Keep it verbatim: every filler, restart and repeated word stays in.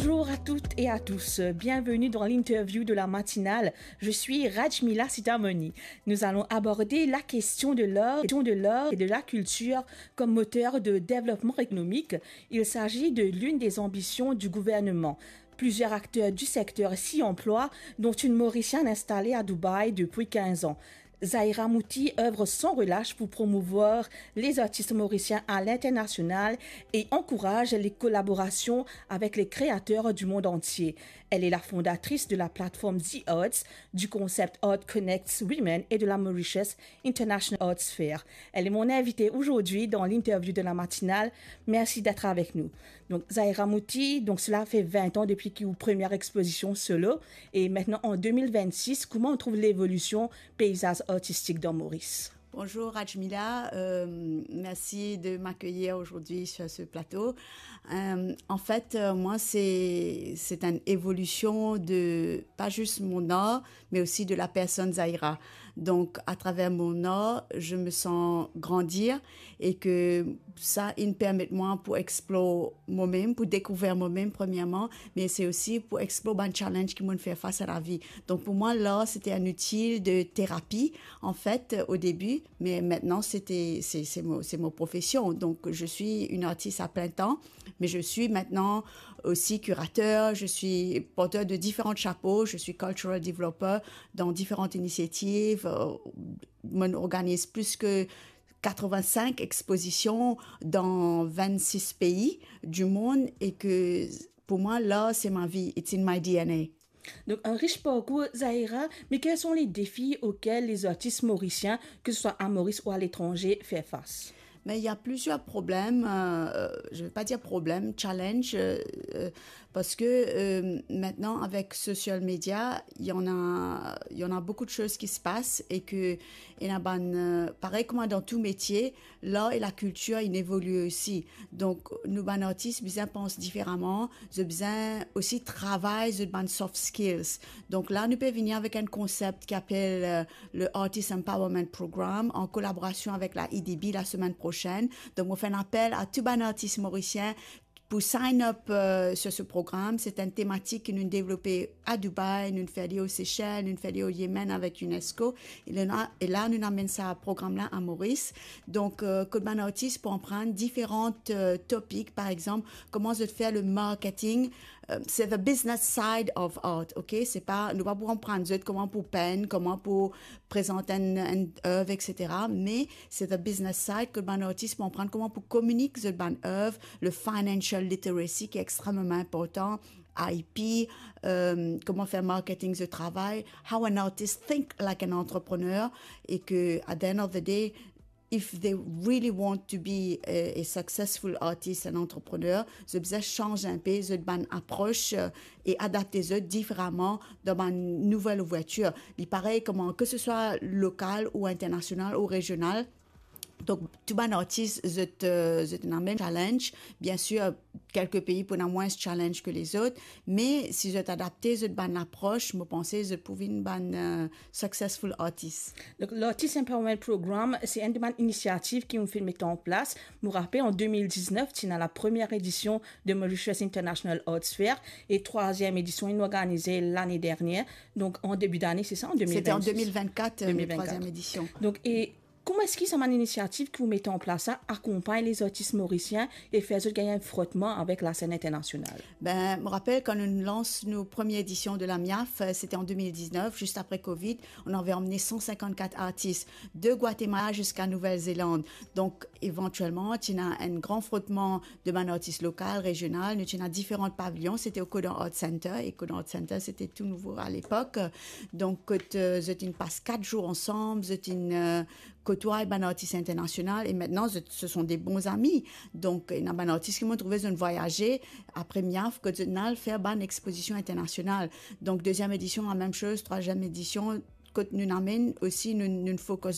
Bonjour à toutes et à tous, bienvenue dans l'interview de la matinale. Je suis Rajmila Sitamoni. Nous allons aborder la question de l'art, de l'art et de la culture comme moteur de développement économique. Il s'agit de l'une des ambitions du gouvernement. Plusieurs acteurs du secteur s'y emploient, dont une Mauricienne installée à Dubaï depuis quinze ans. Zahira Mouti œuvre sans relâche pour promouvoir les artistes mauriciens à l'international et encourage les collaborations avec les créateurs du monde entier. Elle est la fondatrice de la plateforme The Arts, du concept Art Connects Women et de la Mauritius International Arts Fair. Elle est mon invitée aujourd'hui dans l'interview de la matinale. Merci d'être avec nous. Donc, Zahira Mouti, donc cela fait vingt ans depuis que votre première exposition solo. Et maintenant, en deux mille vingt-six, comment on trouve l'évolution paysage artistique dans Maurice? Bonjour Rajmila, euh, merci de m'accueillir aujourd'hui sur ce plateau. Euh, en fait, euh, moi, c'est, c'est une évolution de, pas juste mon art, mais aussi de la personne Zahira. Donc, à travers mon art, je me sens grandir et que sa inn permet mwa pou explor mwa mem, pou dekouvrir mwa mem premierman, me se osi pou explor bann challenge ki mo'nn fer fas a lavi. Donk pou mwa, lar se te enn outil de terapi, an fet, o debi, me aster se, se mo, se mo profesion. Donc, je suis une artiste à plein temps, mais je suis maintenant aussi curateur, je suis porteur de différents chapeaux, je suis cultural developer dans différentes initiatives, euh, mo'nn organiz plis ki quatre-vingt-cinq expositions dans vingt-six pays du monde et que pour moi, l'art, c'est ma vie, it's in my D N A. Donc, un riche parcours, Zahira, mais quels sont les défis auxquels les artistes mauriciens, que ce soit à Maurice ou à l'étranger, font face? Mais il y a plusieurs problèmes, euh, je ne vais pas dire problèmes, challenges, euh, euh, parce que euh, maintenant, avec social media, il y en a, il y en a beaucoup de choses qui se passent et que, et la bann, euh, pareil comme dans tout métier, l'art et la culture, ils évoluent aussi. Donc, nou bann artis bizin pans diferaman, zot bizin osi travay zot bann soft skills. Donc là, nou pe vini avek un concept ki apel euh, le Artist Empowerment Program, en collaboration avec la E D B la semaine prochaine. Donc, on fait un appel à tout bann artis morisien pour sign up euh, sur ce programme. C'est une thématique que nous développons à Dubaï, nous faisons aux Seychelles, nous faisons au Yémen avec UNESCO. Et là, et là nous amènons ce programme-là à Maurice. Donc, euh, kot bann artis pou aprann diferan euh, topic, par exemple, comment je fais le marketing, euh, c'est the business side of art, ok? C'est pas, nou pa pou aprann zot comment pou peint, comment pou prezant un, un œuvre, et cetera. Mais c'est the business side, kot bann artis pou aprann comment pou kominik zot bann œuvre, le financial literacy qui est extrêmement important, I P, euh, comment faire marketing de travail, how an artist think like an entrepreneur, et que at the end of the day, if they really want to be a, a successful artist, an entrepreneur, zot bizin chanz un peu zot bann approche euh, et adapter zot différemment dans ma nouvelle ouverture. Li parey kouma, que ce soit local ou international ou régional, donc tout bann artis zot, euh, zot ena mem challenge. Bien sûr, quelques pays pou ena moins challenge que les autres, mais si zot adapte zot bann approche, mo panse zot pou vinn bann euh, successful artist. Donc, l'Artist Empowerment Program, c'est une de mes initiatives qui ont fait mettre en place. Je me rappelle, en deux mille dix-neuf, tu as la première édition de Mauritius International Arts Fair et troisième édition, ils l'ont organisée l'année dernière. Donc, en début d'année, c'est ça, en deux mille vingt-six? C'était en deux mille vingt-quatre, euh, deux mille vingt-quatre. Troisième édition. Donc, et comment est-ce que cette initiative que vous mettez en place, ça accompagne les artistes mauriciens et fait qu'ils gagnent un frottement avec la scène internationale? Ben, je me rappelle quand nous lançons nos premières éditions de la MIAF, euh, c'était en deux mille dix-neuf, juste après covid, on avait emmené cent cinquante-quatre artistes de Guatemala jusqu'à Nouvelle-Zélande. Donc, éventuellement, tu as un grand frottement de bann artis lokal, rejional, nou ti ena diferan pavilion, c'était au Kodan Art Center, et Kodan Art Center, c'était tout nouveau à l'époque. Donc, kot euh, zot inn pas quatre jours ensemble, zot inn euh, kotway bann artis internasional, et maintenant, zot, ce sont des bons amis. Donc, ena bann artis ki mo trouve zot inn vwayaze apre MIAF, kot zot inn al fer bann exposition internasional. Donc, deuxième édition, la même chose, troisième édition, kot nou amenn osi, nou, nou focus